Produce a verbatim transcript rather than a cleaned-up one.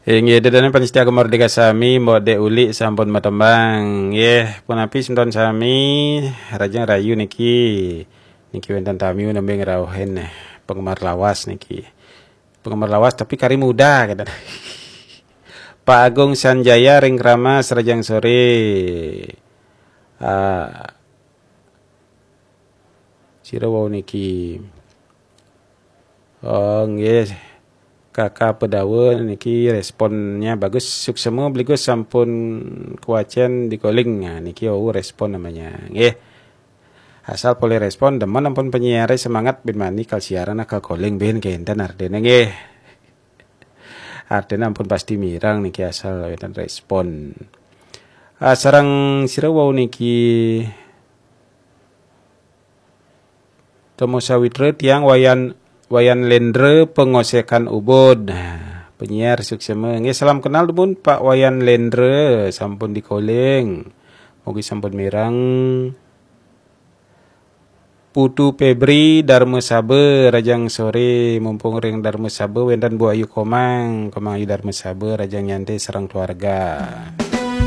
Inggih, ida dané pamiarsa Gema Merdeka sami, Mbok Dék Uli sampun matembang. Nggih, punapi semeton sami, rahajeng rahayu niki. Niki wénten tamu nembé ngrauhin, eh, penggemar lawas niki. Penggemar lawas tapi kari muda, kata. Pak Agung Sanjaya ring Kramas, rahajeng soré. Ah, sira wau niki. Oh, nggih. Kakak Pedawa niki responnya bagus. Suksema Bligus sampun kewacén di calling. Nah, niki wau respon namanya. Nggih. Asal polih respon, demen ampun penyiaré semangat bin mani kal siaran, kal calling bin kénten artiné nggih. Artiné ampun pasti mireng niki asal wénten respon. Ah, sareng sira wau niki Tomo Sawitra, tiang Wayan, Wayan Lendra, Pengosekan Ubud. Nah, penyiar suksema. Nggih, salam kenal dumun Pak Wayan Lendra, sampun di calling. Mugi sampun mireng. Putu Febri, Darma Saba, rahajeng soré, mumpung ring Darma Saba wénten Bu Ayu Komang, Komang Ayu Darma Saba, rahajeng nyanté sareng keluarga.